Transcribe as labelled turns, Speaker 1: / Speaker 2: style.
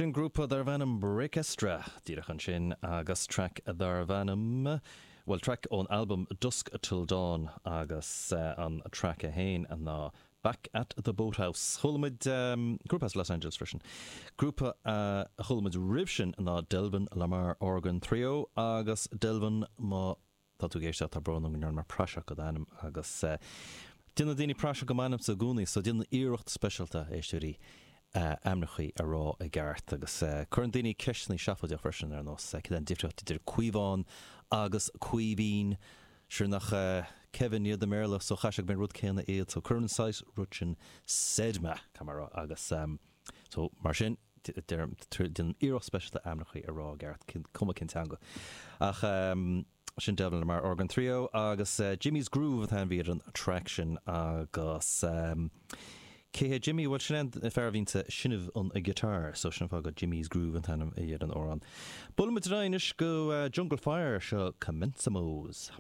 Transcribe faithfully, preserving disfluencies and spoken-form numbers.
Speaker 1: Sin grúpa darbh ainm Breakestra díreach ansin agus track darbh ainm well track ón album Dusk Till Dawn agus uh, an track a haon ná Back at the Boathouse. Chuala muid um, grúpa as Los Angeles freisin. Grúpa uh, a chuala muid roimh sin ná Delvin Lamar Organ Trio agus Delvin má tá tú ag éisteacht tá brón orm go ndearna mé praiseach de d'ainm agus uh, Déanann daoine praiseach de m'ainmse i gcónaí, so déanaim iarracht speisialta éisteoirí uh, ainmneacha a rá i gceart agus uh, cuireann daoine ceisteanna seafóideach freisin ar nós uh, cén difríocht idir Caomhán agus Caoimhín sure nach uh, Kevin iad i mBéarla so chaithfeadh go mbeidh rud céanna iad so cuireann saghas rud sin said mé camera agus um, so mar sin déanaim iarracht speisialta ainmneacha a rá i gceart cuma cén teanga. Ach um, sin Delvin Lamar Organ Trio agus uh, Jimmy's Groove atá bhí an track sin agus um, Cé Jimmy bhfuil sin fear a bhíonn ag seinm an a guitar, so sin fá go Jimmy's Groove an t-ainm a an amhrán. Buailfimid anois go uh, Jungle Fire seo Commensamos.